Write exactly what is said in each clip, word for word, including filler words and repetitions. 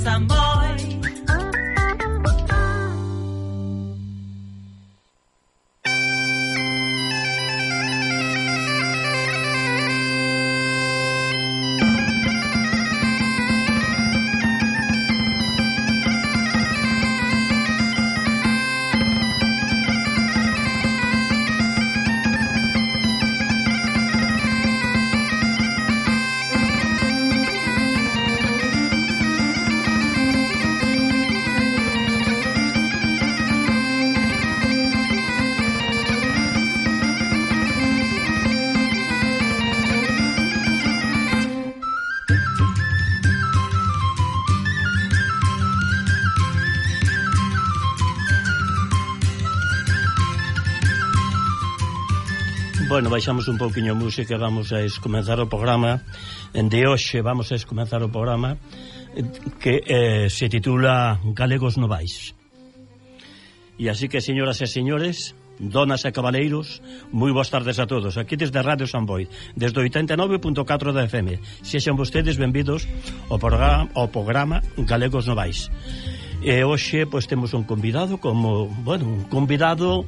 Samboy. Bueno, baixamos un pouquiño a música e vamos a comenzar o programa de hoxe. Vamos a comenzar o programa que eh, se titula Galegos Novais. E así que, señoras e señores, donas e cabaleiros, moi boas tardes a todos. Aquí desde Radio Samboy, desde oitenta e nove punto catro da F M. Sexan vostedes benvidos ao programa, ao programa Galegos Novais. E hoxe, pois, temos un convidado como, bueno, un convidado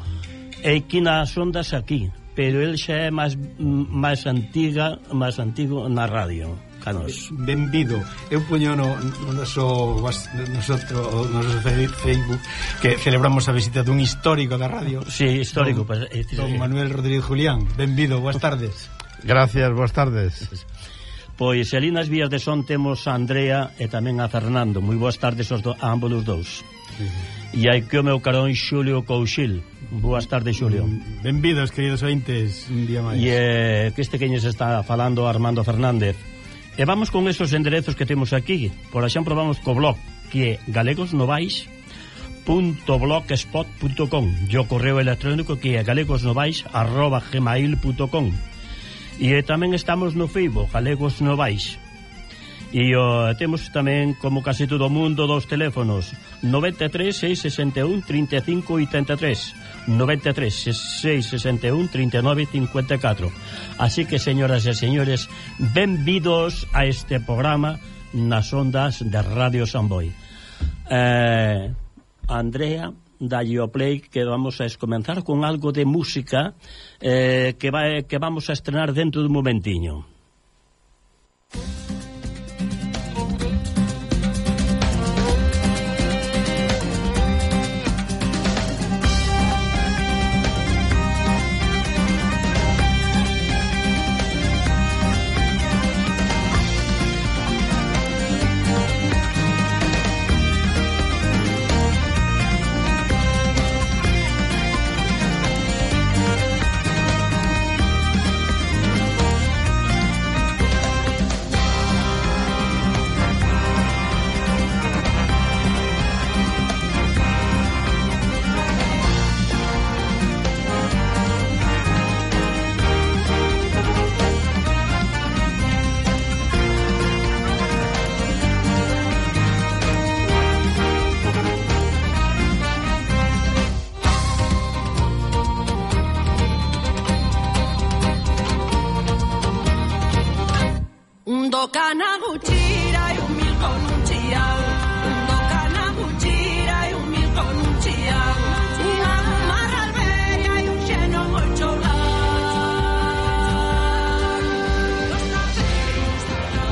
e que nas ondas aquí, pero el xa é máis máis antiga, máis antigo na radio. Canos. Benvido. Eu poño no, no noso nosotros, no noso Facebook que celebramos a visita dun histórico da radio. Sí, histórico. Don, pues, eh, don Manuel Rodríguez Julián. Benvido, boas tardes. Gracias, boas tardes. Pois ali nas vías de son temos a Andrea e tamén a Fernando. Moi boas tardes aos do, a ambos os dous. Sí. E hai que o meu carón Xulio Couchil. Boas tardes, Xulio. Benvidos, queridos ointes, un día máis. E eh, que este queño se está falando Armando Fernández. E vamos con esos enderezos que temos aquí. Por exemplo, vamos co blog, que é galegosnovais punto blogspot punto com, e o correo electrónico que é galegosnovais arroba gmail punto com. E eh, tamén estamos no Facebook, Galegos Novais. E o, temos tamén, como casi todo o mundo, dos teléfonos: noventa e tres, seis sesenta e un, trinta e cinco oitenta e tres, noventa e tres, seis sesenta e un, trinta e nove cincuenta e catro. Así que, señoras e señores, benvidos a este programa nas ondas de Radio Samboy. eh, Andrea, dalle o play, que vamos a comenzar con algo de música eh, que, va, que vamos a estrenar dentro dun momentiño.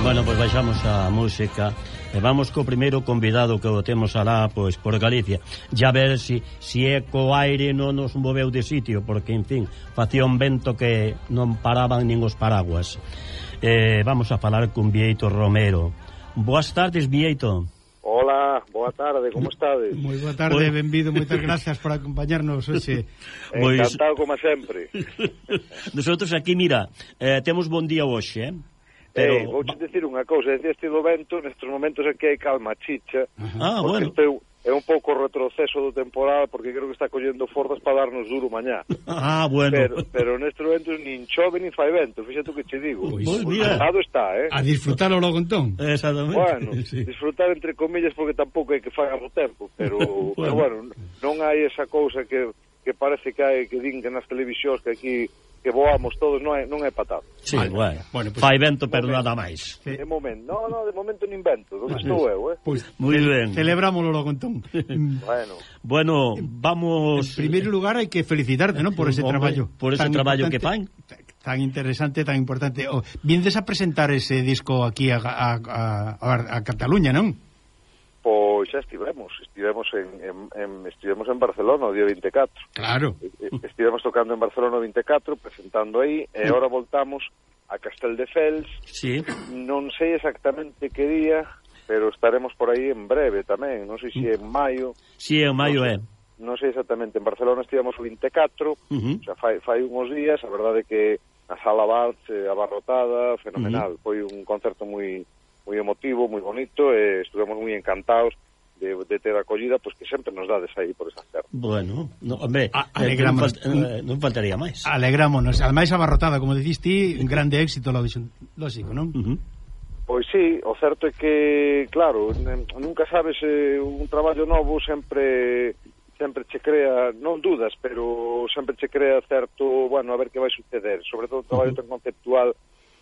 Bueno, pois pues baixamos a música e vamos co primeiro convidado que o temos alá, pois, por Galicia. Ya ver si, si é co aire non nos moveu de sitio, porque, en fin, facía un vento que non paraban nin os paraguas. Eh, vamos a falar con Bieito Romero. Boas tardes, Bieito. Hola, boa tarde, como estades? Moi boa tarde, pues... benvido, moitas gracias por acompañarnos hoxe. Encantado, como sempre. Nosotros aquí, mira, eh, temos bon día hoxe, eh? Pero... Eh, vouche dicir unha cousa, decía este do vento, nestes momentos aquí hai calma chicha, ah, porque bueno. é un pouco retroceso do temporal, porque creo que está collendo forzas para darnos duro mañá. Ah, bueno. Pero, pero nestes momentos nin chove nin fai vento, fíxate o que che digo. Pois, mira. Pasado está, eh? A disfrutarlo logo entón. Exactamente. Bueno, sí. Disfrutar entre comillas, porque tampouco hai que fagar o tempo, pero, bueno. pero bueno, non hai esa cousa que, que parece que hai, que din que nas televisións que aquí que voamos todos, non é, non é patado. Sí, Vale. bueno, Bueno, pues, fai vento, pero momento. nada máis. De momento, no, no, de momento nin vento, onde estou eu, eh? Pois, Moi ce- ben. celebrámoslo logo entón. Mm, Bueno, Bueno, En vamos... primeiro lugar hai que felicitarte, non, por ese Hombre, traballo. por ese tan traballo que importante, tan interesante, tan importante. Oh, viendes a presentar ese disco aquí a, a, a, a, a Cataluña, non? pois xa estivemos, estivemos en, en, en estivemos en Barcelona o día vinte e catro. Claro. Estivemos tocando en Barcelona o vinte e catro, presentando aí, e agora voltamos a Casteldefels. Sí. Non sei exactamente que día, pero estaremos por aí en breve tamén, non sei se é en maio. Sí, en maio é. Non sei exactamente, en Barcelona estivemos o vinte e catro, Uh -huh. o sea, fai, fai uns días, a verdade é que a sala Vals eh, abarrotada, fenomenal, uh -huh. foi un concerto moi moi emotivo, moi bonito, e estuvemos moi encantados de, de ter acollida, pois pues, que sempre nos dades aí por esas terras. Bueno, no, hombre, A- eh, alegramos. non, falt, eh, non faltaría máis. Alegrámonos. Ademais, abarrotada, como diciste, un grande éxito, lógico, non? Uh -huh. Pois sí, o certo é que, claro, nunca sabes, eh, un traballo novo sempre sempre che crea, non dudas, pero sempre che crea certo, bueno, a ver que vai suceder, sobre todo un traballo tan conceptual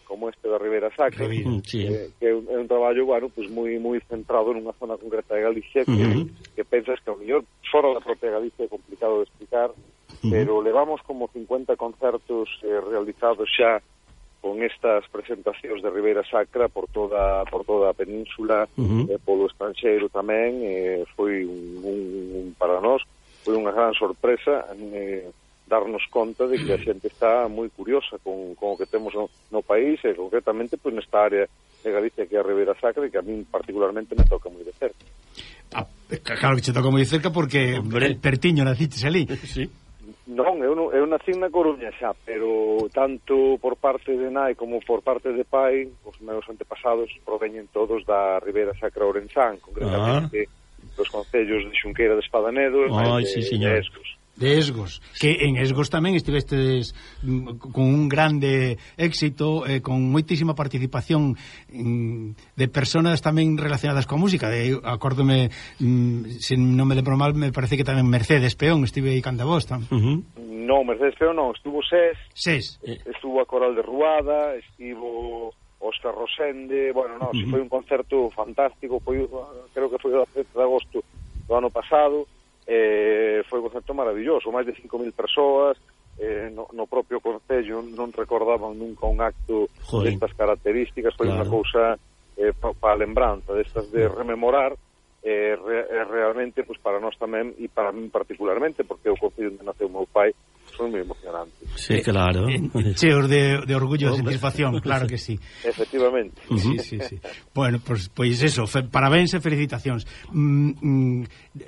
como este da Ribeira Sacra, Uh, sí. eh, que é un, é un traballo, bueno, pues moi moi centrado nunha zona concreta de Galicia que, Uh -huh. que pensas que ao mellor fora da propia Galicia é complicado de explicar, uh -huh. pero levamos como cincuenta concertos eh, realizados xa con estas presentacións de Ribeira Sacra por toda por toda a península, Uh -huh. eh, polo estranxeiro tamén, eh, foi un, un, un para nós foi unha gran sorpresa eh, darnos conta de que a xente está moi curiosa con, con o que temos no, no país e concretamente pois, nesta área de Galicia que é a Ribeira Sacra e que a min particularmente me toca moi de cerca. Ah, claro que che toca moi cerca porque Hombre. pertiño naciches ali. Sí. Non, eu, non, eu nací na Coruña xa, pero tanto por parte de nai como por parte de pai, os meus antepasados proveñen todos da Ribeira Sacra Ourensán, concretamente ah. dos concellos de Xunqueira de Espadanedo e Ai, de, sí, señor. de Escos. De Esgos, que en Esgos tamén estivestes mm, con un grande éxito, eh, con moitísima participación mm, de personas tamén relacionadas coa música. De, acórdome, mm, se non me lembro mal, me parece que tamén Mercedes Peón estive aí canda vos tam. Uh -huh. Non, Mercedes Peón non, estuvo Sés, Ses. estuvo a Coral de Ruada, estivo Óscar Rosende, bueno, non, uh -huh. foi un concerto fantástico, foi, creo que foi o sete de agosto do ano pasado. Eh, foi un concerto maravilloso, máis de cinco mil persoas, eh, no, no propio concello non recordaban nunca un acto Joder. destas características, foi Claro. unha cousa eh, para pa a lembranza destas de rememorar, eh, re, eh, realmente, pues, para nós tamén e para mí particularmente, porque o concello onde naceu o meu pai foi moi emocionante. Sí, claro. Eh, cheos de, de orgullo e Hombre. satisfacción, claro que sí. Efectivamente. Uh -huh. Sí, sí, sí. Bueno, pois pues, pues eso, fe, parabéns e felicitacións. Mm, mm,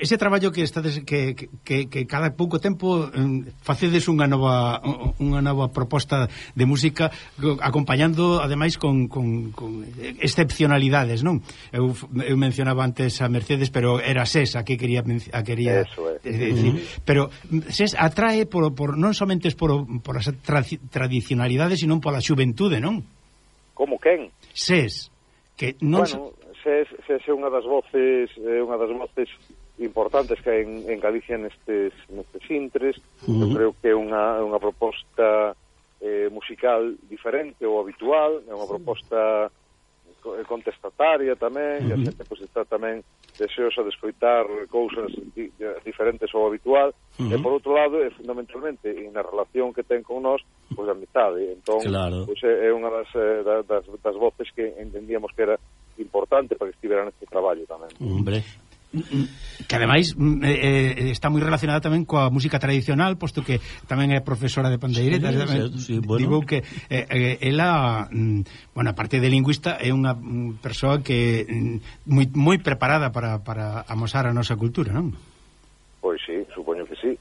ese traballo que estades que, que, que cada pouco tempo mm, facedes unha nova unha nova proposta de música acompañando ademais con, con, con excepcionalidades, non? Eu, eu mencionaba antes a Mercedes, pero era Ses a que quería a quería Eso é. decir, uh -huh. pero Ses atrae por, por non somente por, por as tra tradicionalidades, sino pola xuventude, non? Como quen? Ses que non Bueno, Ses, Ses é unha das voces, é unha das voces importantes que hai en, en Galicia nestes, nestes intres. Uh -huh. Eu creo que é unha, unha proposta eh, musical diferente ou habitual, é unha proposta contestataria tamén, uh -huh. e a xente pues, está tamén deseosa de escoitar cousas di, diferentes ao habitual, uh -huh. e por outro lado, é fundamentalmente na relación que ten con nós, pois pues, a amizade. Entón, claro. pues, é unha das, das, das voces que entendíamos que era importante para que estivera neste traballo tamén. Hombre. Que ademais eh, está moi relacionada tamén coa música tradicional, posto que tamén é profesora de pandeiretas. Sí, tamén, sí, bueno. Digo que eh, eh, ela, mm, bueno, aparte de lingüista, é unha mm, persoa que mm, moi, moi preparada para, para amosar a nosa cultura, non? Pois sí, supoño que sí.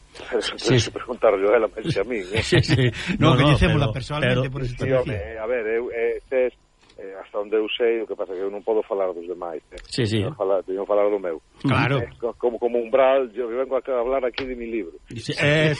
Sí. Se preguntarlo a ela, máis que a mí. Eh? Sí, sí. No, No, no, coñecémola pero- personalmente pero- por eso Sí, te home, decía. a ver, eu, eh, tes, eh, hasta onde eu sei, o que pasa que eu non podo falar dos demais. Eh? Sí, sí. Teño que falar, teño que falar do meu. Claro. Eh, co- como, como umbral, eu vengo a hablar aquí de mi libro. Sí, eh,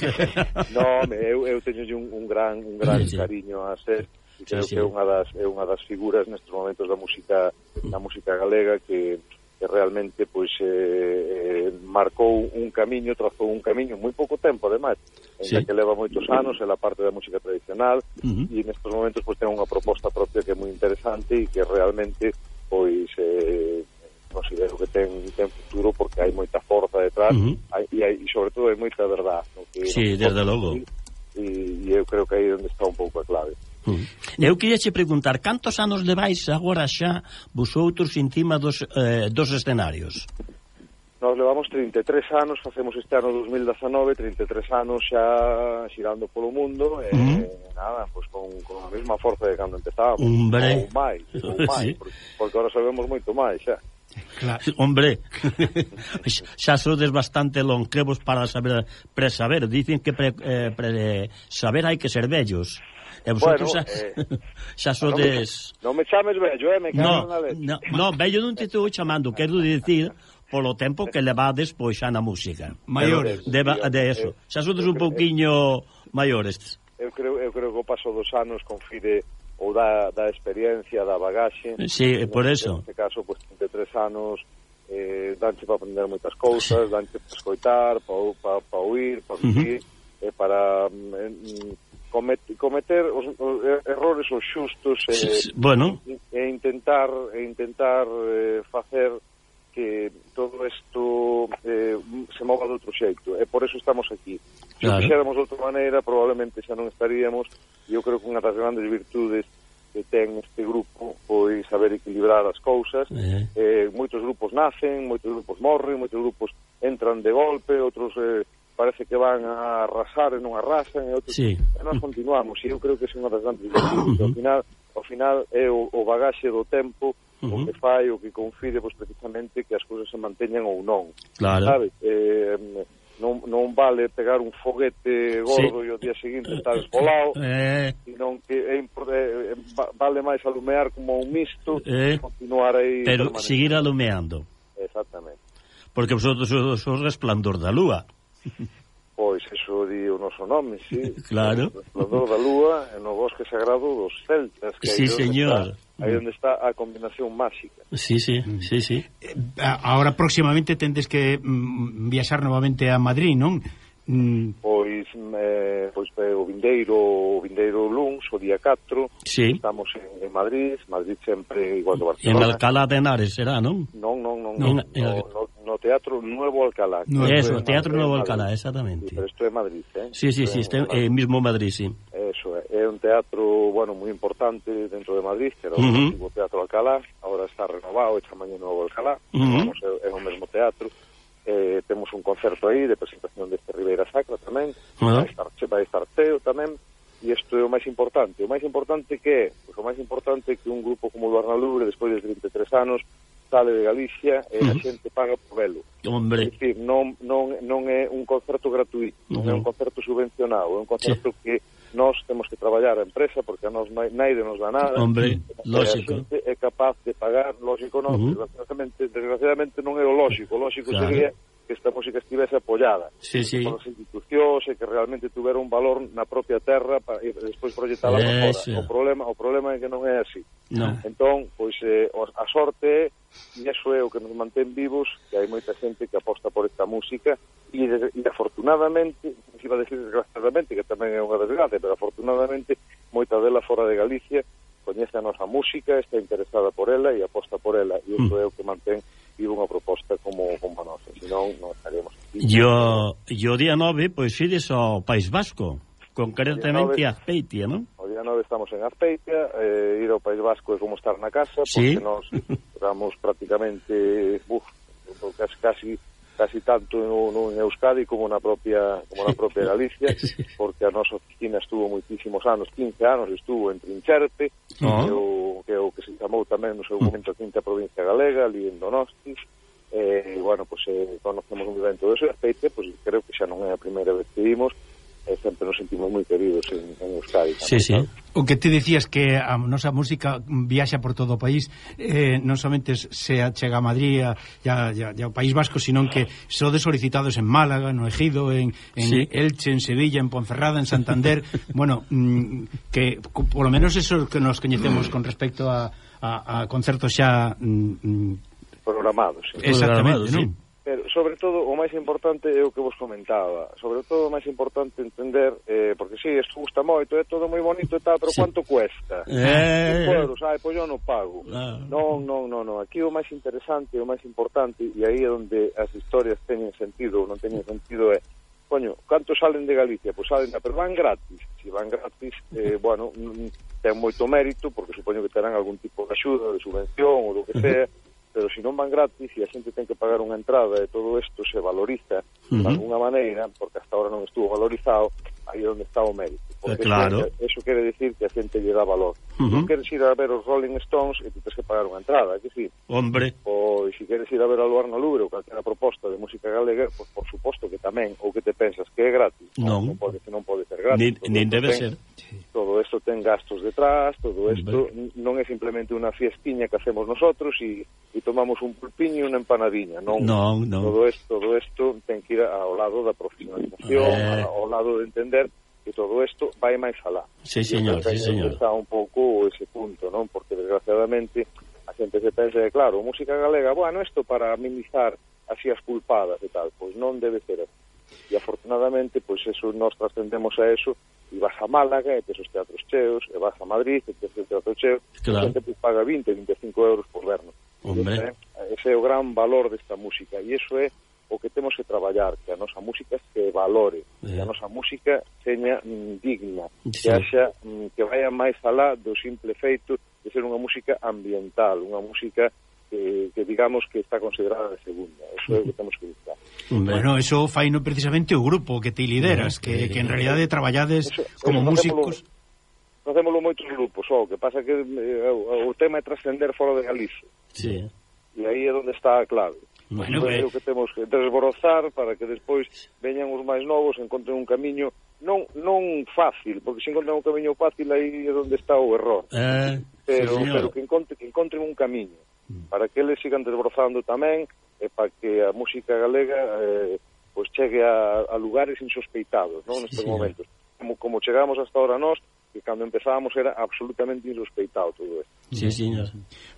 No, home, eu, eu teño un, un gran, un gran Sí, sí. cariño a ser, e creo Sí, sí. que é unha das, é unha das figuras nestes momentos da música, da música galega que que realmente pois eh, eh, marcou un camiño, trazou un camiño moi pouco tempo, ademais, en sí. que leva moitos anos en la parte da música tradicional, uh-huh. e nestes momentos pois ten unha proposta propia que é moi interesante e que realmente pois eh, considero que ten, ten futuro porque hai moita forza detrás, uh-huh. hai, e, hai, e sobre todo hai moita verdade, no? Que sí, desde logo, e, e eu creo que aí é onde está un pouco a clave. Uh-huh. Eu queria che preguntar, cantos anos levais agora xa vosotros encima dos, eh, dos escenarios? Nos levamos trinta e tres anos, facemos este ano dos mil dezanove, trinta e tres anos xa xirando polo mundo, e uh-huh. nada, pois con, con a mesma forza de cando empezábamos, Hombre. ou máis, ou máis, sí. porque, porque agora sabemos moito máis xa. Claro. Hombre, xa sodes bastante longevos para saber presaber, dicen que pre, eh, pre, saber hai que ser vellos. E vosotros bueno, xa, eh, xa sodes... Non me, non me chames vello, eh, me cago no, na leche. No, no, vello non te estou chamando, quero dicir polo tempo que levades pois xa na música. Maiores. De, de eso. Xa sodes un pouquiño maiores. Eu creo, eu creo que o paso dos anos confire ou da, da experiencia, da bagaxe. Sí, por eso. En este caso, pues, trinta e tres anos, eh, danche para aprender moitas cousas, danche para escoitar, para pa, pa oír, para vivir, uh-huh. eh, para eh, comet, cometer os, os errores os xustos, eh, sí, sí. Bueno. e, e intentar, e intentar eh, facer que todo isto eh, se mova de outro xeito, e por eso estamos aquí. Se claro. o fixéramos de outra maneira, probablemente xa non estaríamos, e eu creo que unha das grandes virtudes que ten este grupo pois saber equilibrar as cousas. Eh. Eh, moitos grupos nacen, moitos grupos morren, moitos grupos entran de golpe, outros eh, parece que van a arrasar e non arrasan, e outros sí. e nós continuamos, e eu creo que é unha das grandes virtudes. Ao final, ao final é o, o bagaxe do tempo, uh-huh. o que fai, o que confide, pois, precisamente que as cousas se manteñan ou non. Claro. Sabes? Eh, non, non vale pegar un foguete gordo sí. e o día seguinte estar esbolado, eh. senón que é, é, vale máis alumear como un misto eh. e continuar aí. Pero seguir alumeando. Exactamente. Porque vosotros sois o resplandor da lúa. Pois, eso di o noso nome, sí. Claro. O resplandor da lúa no bosque sagrado dos celtas. Que sí, señor. Está, aí onde está a combinación máxica. Sí, sí, sí, sí. Eh, ahora próximamente tendes que mm, viaxar novamente a Madrid, non? Mm. Pois, eh, pois o vindeiro, o vindeiro luns, o día catro, sí. estamos en, en Madrid, Madrid sempre igual do Barcelona. En Alcalá de Henares será, non? Non, non, non, no, no, no, no, no Teatro Nuevo Alcalá. No, eso, Teatro Nuevo Alcalá, exactamente. Sí, pero isto é Madrid, eh? Sí, sí, sí, este, eh, mismo Madrid, sí. Eso é, é un teatro, bueno, moi importante dentro de Madrid, que era o uh-huh. antigo Teatro Alcalá, agora está renovado, e chamaño Nuevo Alcalá, uh-huh. vamos, é, é o mesmo teatro. Eh, temos un concerto aí de presentación deste Ribeira Sacra tamén, uh-huh. vai, estar, vai estar Teo tamén, e isto é o máis importante. O máis importante que é? Pois o máis importante é que un grupo como o Arnalubre, despois de trinta e tres anos, sale de Galicia e uh-huh. a xente paga por velo. Hombre. É dicir, non, non, non é un concerto gratuito, uh-huh. non é un concerto subvencionado, é un concerto sí. que nós temos que traballar a empresa porque a nós naide nos dá nada. Hombre, lógico. A xente é capaz de pagar, lógico non, uh-huh. desgraciadamente, desgraciadamente non é o lógico, o lógico claro. sería que esta música estivese apoiada sí, sí. por as institucións e que realmente tuvera un valor na propia terra para, e despois proyectala para fora. O problema, o problema é que non é así. No. Entón, pois eh, a sorte é, e iso é o que nos mantén vivos, que hai moita xente que aposta por esta música e, e afortunadamente, se iba a decir desgraciadamente, que tamén é unha desgracia, pero afortunadamente moita dela fora de Galicia coñece a nosa música, está interesada por ela e aposta por ela, e iso mm. é o que mantén vivo unha proposta como, como a nosa, senón non estaríamos aquí. Yo, yo día nove, pois ides ao País Vasco, concretamente a Azpeitia, non? O día nove estamos en Azpeitia, eh, ir ao País Vasco é como estar na casa, ¿Sí? porque nos estamos prácticamente, uf, casi, casi, casi tanto no, no en Euskadi como na propia como na propia Galicia, porque a nosa oficina estuvo moitísimos anos, quince anos estuvo en Trincherpe, uh-huh. que, o, que o que se chamou tamén no seu momento a quinta provincia galega, ali en Donosti, e, eh, bueno, pues, eh, conocemos un evento de ese aceite, pues creo que xa non é a primeira vez que vimos, e sempre nos sentimos moi queridos en, en Euskadi. Sí, sí. O que te dicías que a nosa música viaxa por todo o país, eh, non somente se chega a Madrid e ao País Vasco, sino que sodes solicitados en Málaga, no Ejido, en, en sí. Elche, en Sevilla, en Ponferrada, en Santander. Bueno, mm, que polo menos eso que nos coñecemos con respecto a, a, a concertos xa mm, programados. Sí. Exactamente, non? Pero, sobre todo, o máis importante é o que vos comentaba. Sobre todo, o máis importante entender, eh, porque si, sí, isto gusta moito, é todo moi bonito e tal, pero sí. Quanto cuesta? Eh... euros, ai, pois eu non pago. Ah. Non, non, non, non. Aquí o máis interesante, o máis importante, e aí é onde as historias teñen sentido ou non teñen sentido é, coño, canto salen de Galicia? Pois salen, pero van gratis. Se van gratis, eh, bueno, ten moito mérito, porque supoño que terán algún tipo de axuda, de subvención, ou do que sea, pero se non van gratis e a xente ten que pagar unha entrada e todo isto se valoriza uh-huh. de alguna maneira, porque hasta ahora non estuvo valorizado, aí é onde está o mérito. Porque claro. eso, eso quere decir que a xente lle dá valor. Uh-huh. Non queres ir a ver os Rolling Stones e tu tens que pagar unha entrada, que si? Hombre. Ou se queres ir a ver a Luarna Lubre ou calquera proposta de música galega, pues, por suposto que tamén, ou que te pensas que é gratis. Non. Non pode, non pode ser gratis. Nin, nin debe ten, ser. Todo isto ten gastos detrás, todo isto non é simplemente unha fiestiña que hacemos nosotros e, e tomamos un pulpiño e unha empanadiña, non. Non, non. Todo isto, todo isto ten que ir ao lado da profesionalización, eh... ao lado de entender que todo isto vai máis alá. Sí, señor, sí, señor. Está un pouco ese punto, non? Porque desgraciadamente a xente se pensa que, claro, música galega, bueno, isto para minimizar así as culpadas e tal, pois non debe ser así. E afortunadamente, pois eso, nós trascendemos a eso, e vas a Málaga e tes os teatros cheos, e vas a Madrid e tes o teatro cheo, claro. E a xente pues, paga vinte, vinte e cinco euros por vernos. Hombre. Ese, ese é o gran valor desta música, e iso é o que temos que traballar, que a nosa música se valore, yeah. Que a nosa música seña mm, digna, sí. Que haxa, mm, que vaya máis alá do simple feito de ser unha música ambiental, unha música que, que digamos que está considerada de segunda. Eso é o que temos que buscar. Bueno, eso faino precisamente o grupo que te lideras, que, que en realidade traballades eso, como eso músicos. Facémolo moitos grupos, o que pasa que eh, o, o tema é trascender fora de Galicia. Sí. E aí é onde está a clave. Bueno, é o que temos que desbrozar para que despois veñan os máis novos e encontren un camiño non non fácil, porque se encontran un camiño fácil aí é onde está o error. Eh, pero, sí, pero que, encontre, que encontren un camiño para que eles sigan desbrozando tamén e para que a música galega eh, pues chegue a, a lugares insospeitados, non, nestes sí, momentos. Como, como chegamos hasta ahora nós, que cando empezábamos era absolutamente insospeitado todo isto. Sí, señor.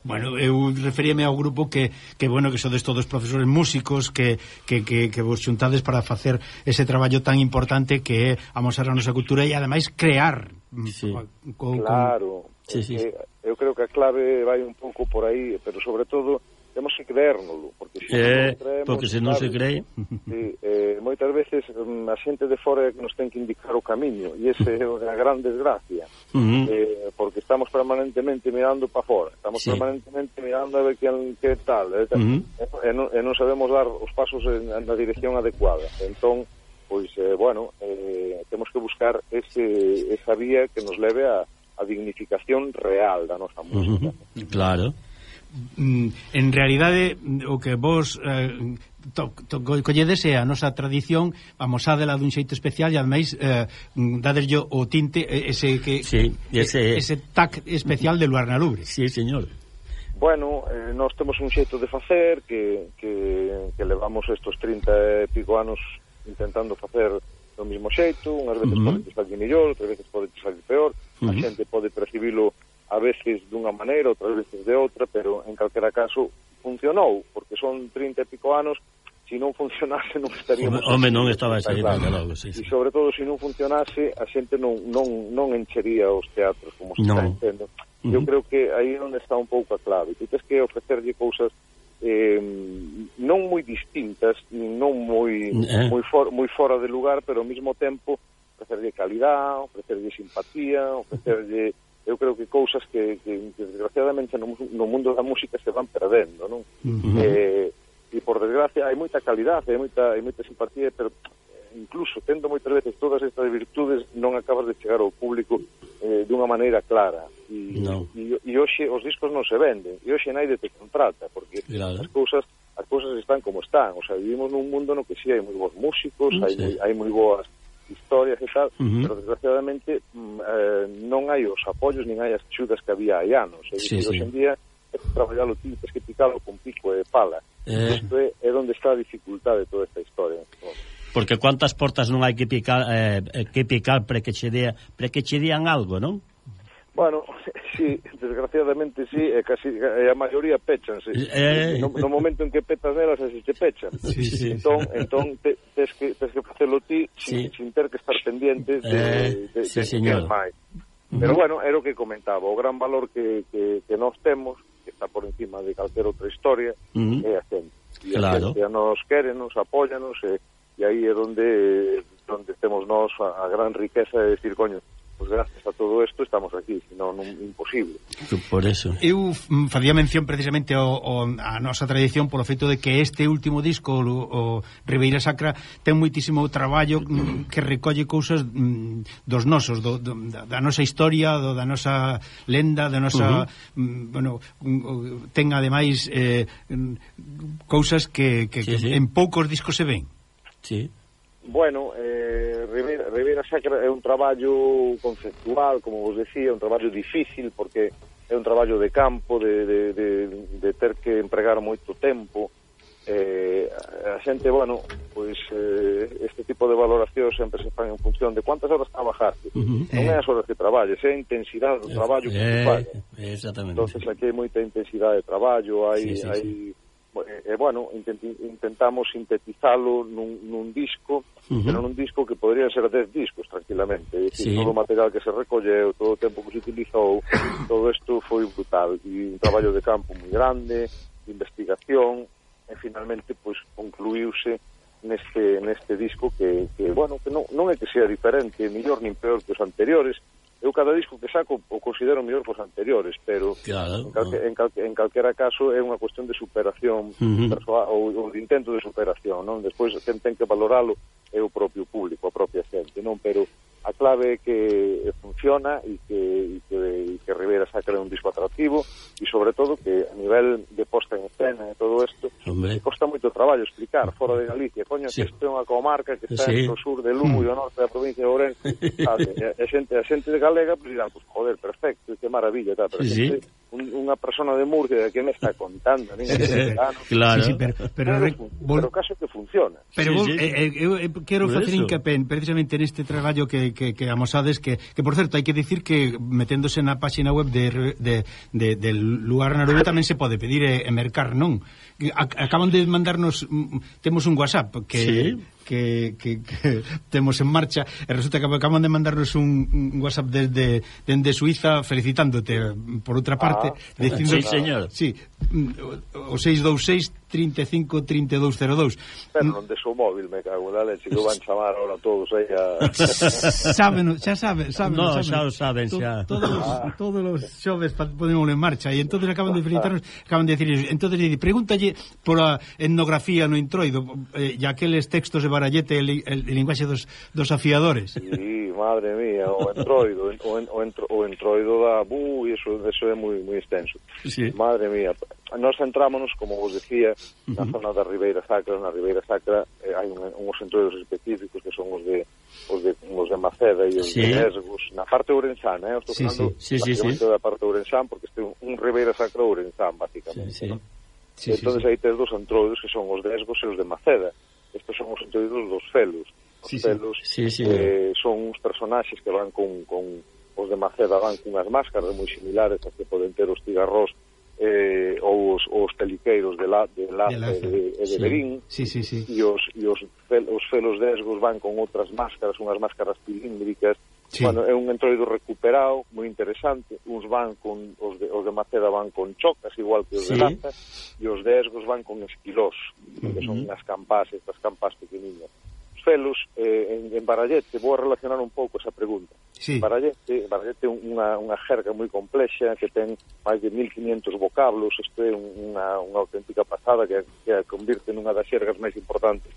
Bueno, eu referíame ao grupo que, que bueno, que sodes todos profesores músicos que, que, que, que vos xuntades para facer ese traballo tan importante que é amosar a nosa cultura e ademais crear. Sí. Con, claro. Con... Sí, sí. Eh, eu creo que a clave vai un pouco por aí, pero sobre todo temos que creérnoslo, porque se eh, non creemos, porque se non se cree sí, eh, moitas veces a xente de fora é que nos ten que indicar o camiño e ese é a gran desgracia uh-huh. eh, porque estamos permanentemente mirando para fora, estamos sí. permanentemente mirando a ver que, que tal eh, uh-huh. e, non, e non sabemos dar os pasos en, en na dirección adecuada, entón pois, eh, bueno eh, temos que buscar ese, esa vía que nos leve a, a dignificación real da nosa música. Uh-huh. Claro. En realidade o que vos eh, to, to, colledes é a nosa tradición, amosádela dun xeito especial e ademais eh, dadeslle o tinte ese que sí, ese... ese tac especial de Luarna Lubre. Sí, señor. Bueno, eh, nós temos un xeito de facer que, que, que levamos estos trinta e pico anos intentando facer do mismo xeito, unhas veces uh-huh. pode salir mellor, outras veces pode salir peor, uh-huh. a xente pode percibilo a veces dunha maneira, outras veces de outra, pero en calquera caso funcionou, porque son trinta e pico anos, se non funcionase non estaríamos... Home, non estaba ese claro. Logo, sí, sí. E sobre todo, se non funcionase, a xente non, non, non enchería os teatros, como se no. está entendo. Uh-huh. Eu creo que aí é onde está un pouco a clave. Tu tens que ofrecerlle cousas eh, non moi distintas, non moi, eh. moi, for, moi fora de lugar, pero ao mesmo tempo ofrecerlle calidad, ofrecerlle simpatía, ofrecerlle... eu creo que cousas que, que, que desgraciadamente no, no mundo da música se van perdendo, non? Uh-huh. Eh, e por desgracia hai moita calidade, hai moita, hai moita simpatía, pero incluso tendo moitas veces todas estas virtudes non acabas de chegar ao público eh, dunha maneira clara. E, no. e, e hoxe os discos non se venden, e hoxe naide te contrata, porque claro. as cousas as cousas están como están, o sea, vivimos nun mundo no que si sí, hai moi bons músicos, sí. hai, moi, hai moi boas historias e tal, uh-huh. pero desgraciadamente eh, non hai os apoios nin hai as axudas que había hai anos. É dicir, sí, sí. Hoxe en día é traballalo ti, tens que picalo con pico e pala. Eh. Isto é, é onde está a dificultade de toda esta historia. Porque cuántas portas non hai que picar eh, que picar para que che dea, para que che dean algo, non? Bueno, sí, desgraciadamente sí, e casi e a maioría péchanse. Eh... No, no momento en que petas nelas, así se pechan. Sí, sí, entón, sí. entón te, tes que tes que facelo ti sin, sí. sin ter que estar pendiente de, eh, de, de, sí, de señor. que máis. Pero bueno, era o que comentaba, o gran valor que, que, que nós temos, que está por encima de calquer outra historia, uh-huh. é a xente. E claro. a xente a nos quere, nos apóyanos, e, e aí é onde, onde temos nós a, a gran riqueza de decir, coño, pues gracias a todo isto estamos aquí, senón non imposible. Por eso. Eu facía mención precisamente ao, ao, a nosa tradición polo feito de que este último disco, o, o Ribeira Sacra, ten moitísimo traballo que recolle cousas dos nosos, do, do, da nosa historia, do, da nosa lenda, da nosa... Uh-huh. Bueno, ten ademais eh, cousas que, que, sí, que sí. en poucos discos se ven. Sí. Bueno, eh, Ribeira, Ribeira Sacra é un traballo conceptual, como vos decía, un traballo difícil, porque é un traballo de campo, de, de, de, de ter que empregar moito tempo. Eh, a xente, bueno, pois eh, este tipo de valoración sempre se fan en función de cuántas horas trabajaste. Uh-huh. Non é as horas que traballes, é a intensidade do traballo que eh, se falla. Exactamente. Entonces aquí hai moita intensidade de traballo, hai... Sí, sí, hai sí. E, eh, bueno, intent, intentamos sintetizalo nun, nun disco, uh-huh. pero nun disco que podrían ser dez discos tranquilamente, é dicir, sí. todo o material que se recolleu, todo o tempo que se utilizou, todo isto foi brutal, e un traballo de campo moi grande, de investigación, e finalmente pois concluíuse neste, neste disco que, que bueno, que non, non é que sea diferente, mellor nin peor que os anteriores. Eu cada disco que saco o considero mellor que os anteriores, pero claro, en, calque, en, calque, en calquera caso é unha cuestión de superación uh-huh. persoal, ou, ou de intento de superación, non? Despois quen ten que valoralo é o propio público, a propia xente, non? Pero a clave é que funciona e que, e que, e que Ribeira Sacra é un disco atractivo e sobre todo que a nivel de posta en escena e todo isto que costa moito traballo explicar fora de Galicia, coño, sí. que isto é unha comarca que está sí. no sur de Lugo e ao norte da provincia de Ourense, sabe? A xente, a xente de galega pues dirán, pues joder, perfecto, que maravilla, tal, pero sí. xente, un, unha persona de Murcia que me está contando, nin sí, sí. Claro. Sí, sí, pero, pero, pero, pero caso que funciona. Pero sí, sí. Eh, eh, eu eh, quero facer hincapié precisamente neste traballo que, que, que amosades que, que, por certo, hai que dicir que meténdose na página web de, de, de, de Lugar na Rubia tamén se pode pedir e, e mercar, non? Acaban de mandarnos, temos un WhatsApp que... Sí. Que, que, que temos en marcha e resulta que acaban de mandarnos un, un WhatsApp desde, desde Suiza felicitándote por outra parte, ah, dicindo, sí, señor. Sí, o seis dous seis, trinta e cinco, trinta e dous cero dous. Pero non de seu móvil, me cago na leche, que van chamar ahora todos aí a... Sábeno, xa saben, saben, no, saben. xa o saben, xa. Todos os, ah. todos os xoves ponémoslo en marcha e entonces acaban de felicitarnos, acaban de decir, entonces pregúntalle por a etnografía no introido eh, e aqueles textos de Barallete, el, el, el linguaxe dos, dos afiadores. Sí, madre mía, o entroido, o, en, o, entro, o entroido da bu, e eso, eso é moi moi extenso. Sí. Madre mía, nós entrámonos, como vos decía, na uh-huh. zona da Ribeira Sacra. Na Ribeira Sacra eh, hai un, uns entroidos específicos que son os de os de, os de Maceda e os sí. de Esgos, na parte ourensana, eh? Estou sí, falando sí. Sí, sí, sí. da parte ourensán, porque este é un Ribeira Sacra ourensán, basicamente. Sí, sí. ¿no? Sí, entón, sí, sí. aí tes dos entroidos que son os de Esgos e os de Maceda. Estes son os entroidos dos felos. Os sí, felos sí. Sí, sí. Eh, son uns personaxes que van con, con os de Maceda van con unhas máscaras moi similares a que poden ter os cigarrós eh, ou os, os peliqueiros de la, de Laza e de, de, de Berín, sí, sí, sí. e os, e os, fel, os felos de Esgos van con outras máscaras, unhas máscaras cilíndricas. Sí. Bueno, é un entroido recuperado, moi interesante. Uns van con, os de, os de Maceda van con chocas, igual que os sí. de Laza, e os de Esgos van con esquilós, uh-huh. que son unhas campás, estas campás pequeninas. Os felos, eh, en, en Barallete, vou a relacionar un pouco esa pregunta. Sí. Barallete, Barallete é unha, unha jerga moi complexa que ten máis de mil quinientos vocablos. Isto é unha, unha auténtica pasada que, que a convirte nunha das xergas máis importantes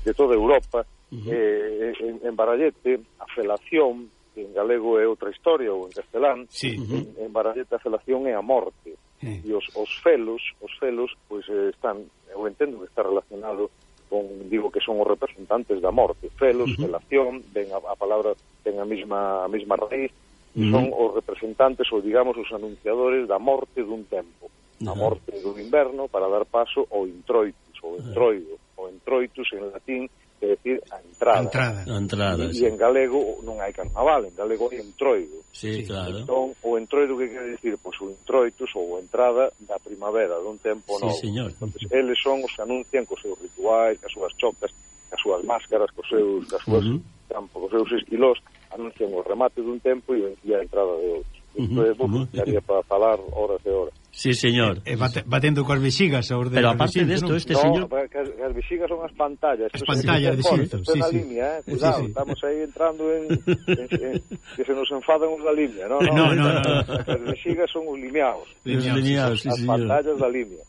de toda Europa. Uh-huh. eh, en, en Barallete, a felación, que en galego é outra historia, ou en castelán, sí. uh-huh. en, en Barallete a felación é a morte. Sí. E os, os felos, os felos, pois pues, eh, están, eu entendo que está relacionado con, digo que son os representantes da morte. Felos, uh-huh. felación, ven a, a palabra ten a mesma a mesma raíz, uh-huh. son os representantes ou digamos os anunciadores da morte dun tempo. Uh-huh. A morte do inverno para dar paso ao introitus, ou entroido, uh-huh. o entroitus en latín que decir a entrada. A entrada. A entrada, e, sí. e en galego non hai carnaval, en galego hai entroido. Sí, claro. Entón, o entroido que quere decir? Pois o introitus ou a entrada da primavera, dun tempo Sí, novo. señor. Entón, eles son os que anuncian cos seus rituais, cas súas chocas, cas súas máscaras, cos seus, cas súas Uh-huh. campos, cos seus esquilos, anuncian o remate dun tempo e a entrada de outro. Isto é, Uh-huh. estaría para falar horas e horas. Sí, señor. E bate, batendo coas vexigas a orde Pero do aparte recinto, desto, non? este no, señor... que as, as vexigas son as pantallas. As Isto pantallas de se- xinto, isto é sí, na sí. línea, eh? Sí, Cuidado, sí. estamos aí entrando en, en, en que se nos enfadan os da línea. No, no, No, no, no. As vexigas son os lineados. Os lineados, sí, as señor. pantallas da línea.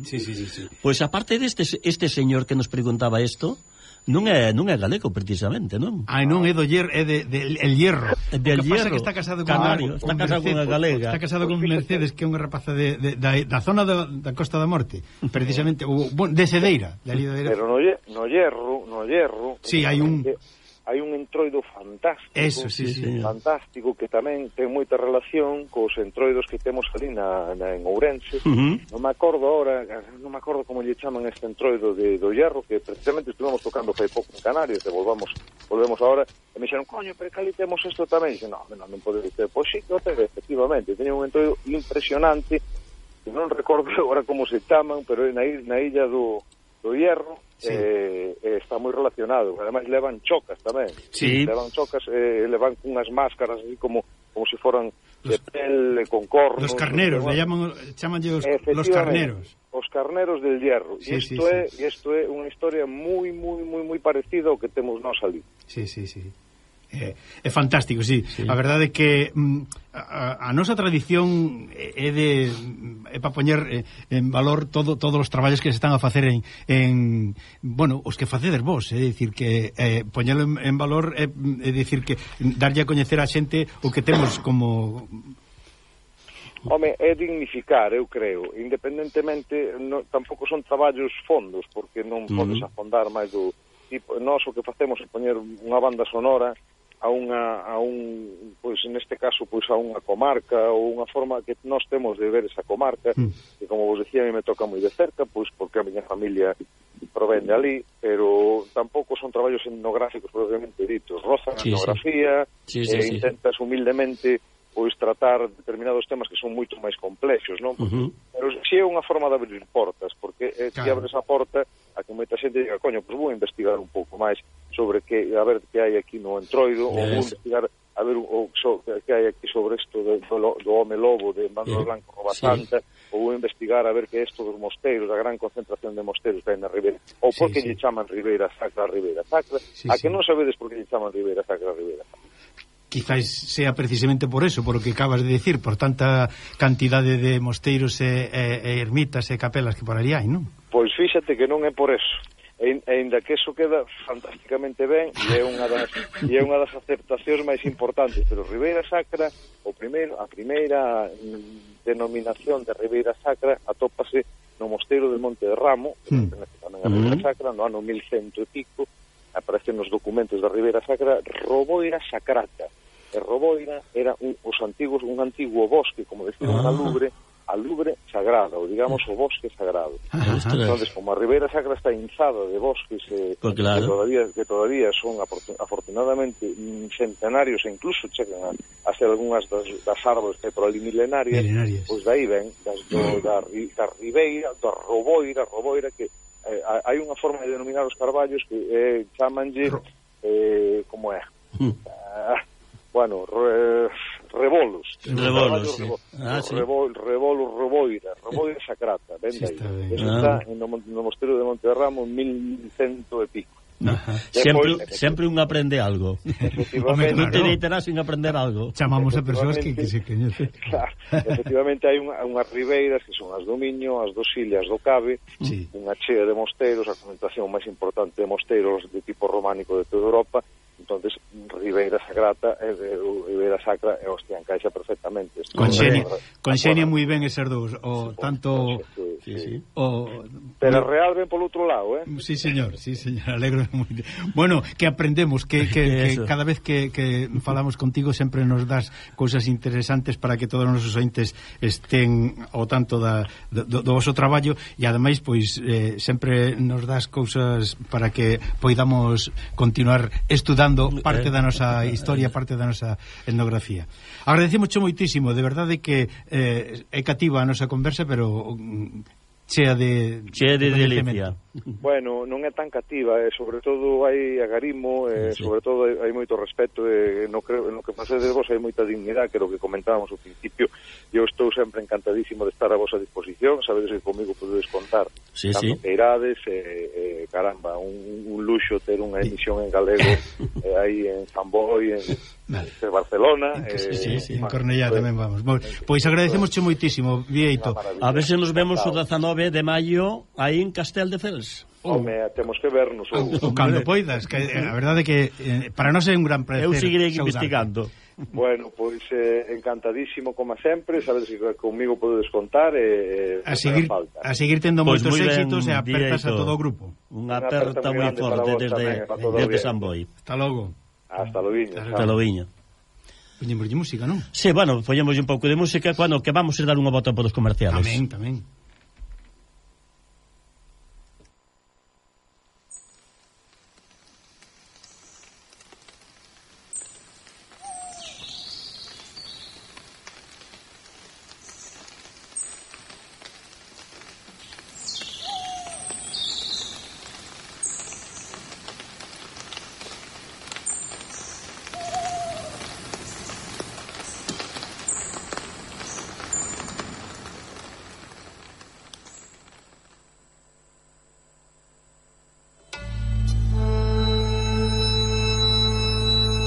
Sí, sí, sí, sí. Pois aparte deste este señor que nos preguntaba isto, non é non é galego precisamente, non? Ai, non é do hierro, é de, de el hierro. Del O que pasa hierro, que está casado con canario, con está casado Mercedes, con unha galega. Está casado con Mercedes, que é unha rapaza de, de, da, da zona da, da Costa da Morte, precisamente, o, bueno, de Cedeira, de ali de Pero no, lle- no hierro, no hierro, Sí, hai un- hai un entroido fantástico. Eso, sí, sí. señor. Fantástico que tamén ten moita relación cos entroidos que temos ali na, na en Ourense. Uh-huh. Non me acordo ahora, non me acordo como lle chaman este entroido de do hierro, que precisamente estuvemos tocando fai pouco en Canarias, e volvamos, volvemos ahora, e me dixeron, coño, pero que ali temos isto tamén. E dixen, no, non, non pode ser. Pois sí, que o ten, efectivamente, teña un entroido impresionante, que non recordo agora como se chaman, pero é na, i- na illa do, do hierro, Sí. eh, eh, está moi relacionado. Ademais levan chocas tamén. Sí. Levan chocas, eh, levan unhas máscaras así como como se foran de pele, con cornos. Los carneros, le llaman, chamanlle os, los carneros. Os carneros del hierro. Sí, E isto sí, é, sí. isto é unha historia moi moi moi moi parecida ao que temos nós ali. Sí, sí, sí. É, é fantástico, sí. Sí. A verdade é que mm, a, a nosa tradición é de é para poñer eh, en valor todo todos os traballos que se están a facer en, en bueno, os que facedes vos, é dicir que eh, poñelo en, en valor é, é dicir que darlle a coñecer a xente o que temos como Home, é dignificar, eu creo, independentemente, no, tampouco son traballos fondos, porque non Uh-huh. podes afondar máis do tipo. Nós o que facemos é poñer unha banda sonora a unha, a un, pois neste caso, pois a unha comarca, ou unha forma que nós temos de ver esa comarca, Mm. que como vos decía, a mí me toca moi de cerca, pois porque a miña familia provén de ali, pero tampouco son traballos etnográficos propiamente ditos. Rozan a Sí, sí. etnografía, Sí, sí, e sí. intentas humildemente pois tratar determinados temas que son moito máis complexos, non? Uh-huh. Pero si é unha forma de abrir portas, porque eh, se Claro. abres a porta a que moita xente diga, coño, pois vou investigar un pouco máis sobre que, a ver que hai aquí no entroido, ou vou Yes. investigar a ver o, so, que hai aquí sobre isto do, do, do home lobo de Manuel Eh, Blanco Roba sí. Santa, ou vou investigar a ver que é isto dos mosteiros, a gran concentración de mosteiros que hai na Ribeira, ou Sí, por que sí. lle chaman Ribeira Sacra a Ribeira Sacra, Sí, a sí. que non sabedes por que lle chaman Ribeira Sacra a Ribeira Sacra. quizás sea precisamente por eso, por o que acabas de decir, por tanta cantidade de mosteiros e, e, e ermitas e capelas que por ali hai, non? Pois fíxate que non é por eso. E, e ainda que eso queda fantásticamente ben, e é unha das e é unha das aceptacións máis importantes, pero Ribeira Sacra, o primeiro, a primeira mm, denominación de Ribeira Sacra atópase no mosteiro de Monte de Ramo, que Mm. pertence tamén a Ribeira Sacra, no ano mil cento e pico, aparecen nos documentos da Ribeira Sacra Roboira Sacrata. E Roboira era un, os antigos, un antiguo bosque, como decían Ah. a Lubre, a Lubre sagrada, ou digamos o bosque sagrado. Ostras. Entonces, como a Ribeira Sacra está inzada de bosques eh, Pues claro. que todavía que todavía son afortun- afortunadamente mm, centenarios e incluso chegan a, a ser algunhas das, das árboles que hai por ali milenarias, Milenarias. pois dai ven das, do, da, ri- da Ribeira, da Roboira, Roboira que eh, hai unha forma de denominar os carballos que eh, chamanlle Ro- eh, como é? Mm. Ah, bueno, re, rebolos. Rebolos, sí. Rebo- Ah, sí. Rebol, rebolo, Reboira, Reboira Sacrata, ven Sí, de aí. está ben. Eso Ah. está no, mon- no mosteiro de Monte de Ramo en mil cento e pico. Ajá. Sempre, Depois, sempre un aprende algo. Efectivamente, Non te Claro. deitarás sin aprender algo. Chamamos a persoas que, que se coñecen. claro, efectivamente hai unha, unhas ribeiras que son as do Miño, as dos Illas do Cabe, Sí. unha chea de mosteiros, a concentración máis importante de mosteiros de tipo románico de toda Europa. Entonces, Ribeira Sagrata e de Ribeira Sacra e hostia, encaixa perfectamente. Isto Conxenia, é- conxenia Bueno, moi ben eses dous, o tanto sí, sí. O... Pero real ven polo outro lado, eh? Sí, señor, sí, señor, alegro moito. Bueno, que aprendemos, que, que, que cada vez que, que falamos contigo sempre nos das cousas interesantes para que todos os nosos ointes estén ao tanto da, do, do vosso traballo e ademais, pois, eh, sempre nos das cousas para que poidamos continuar estudando parte da nosa historia, parte da nosa etnografía. Agradecemos moitísimo, de verdade que eh, é cativa a nosa conversa, pero chea de chea de, de delicia. Bueno, non é tan cativa, eh, sobre todo hai agarimo, eh, sí, sí. Sobre todo hai, hai moito respeto, eh, no, creo, no que pase de vos hai moita dignidade, que é o que comentábamos ao principio. Eu estou sempre encantadísimo de estar a vosa disposición, sabedes que comigo podedes contar sí, tanto sí. que irades, eh, eh, caramba, un, un luxo ter unha emisión en galego eh, aí en Samboy, en, vale. en Barcelona. Sí, sí, sí, en Cornellá pues, tamén vamos. Bueno, pois agradecemos moitísimo, Vieito. A ver se nos vemos o dezanove de maio aí en Castel de Fels. Home, temos que vernos o, o cando poidas, que a verdade é que eh, para nós é un gran placer. Eu seguirei investigando. Bueno, pois eh, encantadísimo como sempre, sabedes que comigo podedes contar e eh, a seguir falta. A seguir tendo pues moitos éxitos e apertas a todo o grupo. Unha aperta moi forte desde desde Samboy. Hasta logo. Hasta logo. Hasta logo. Poñemos música, non? Sí, bueno, poñemos un pouco de música cando que vamos a dar unha volta polos comerciales. Tamén, tamén.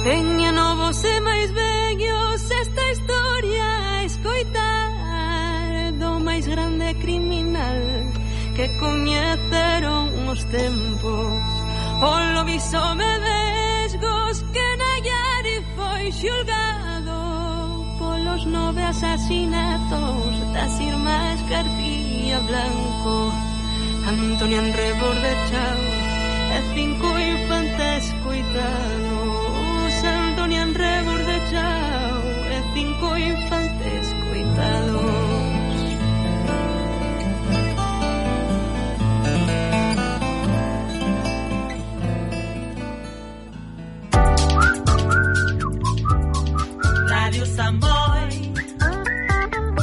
Veña novos e máis vellos esta historia a escoitar do máis grande criminal que coñeceron os tempos. O lobiso medesgos que Nayari foi xulgado polos nove asasinatos das irmás García Blanco, Antonio Enrebor de Chao e cinco infantes coitados. Antonio Enrebor de Chao e cinco infantes coitados. Radio Samboy.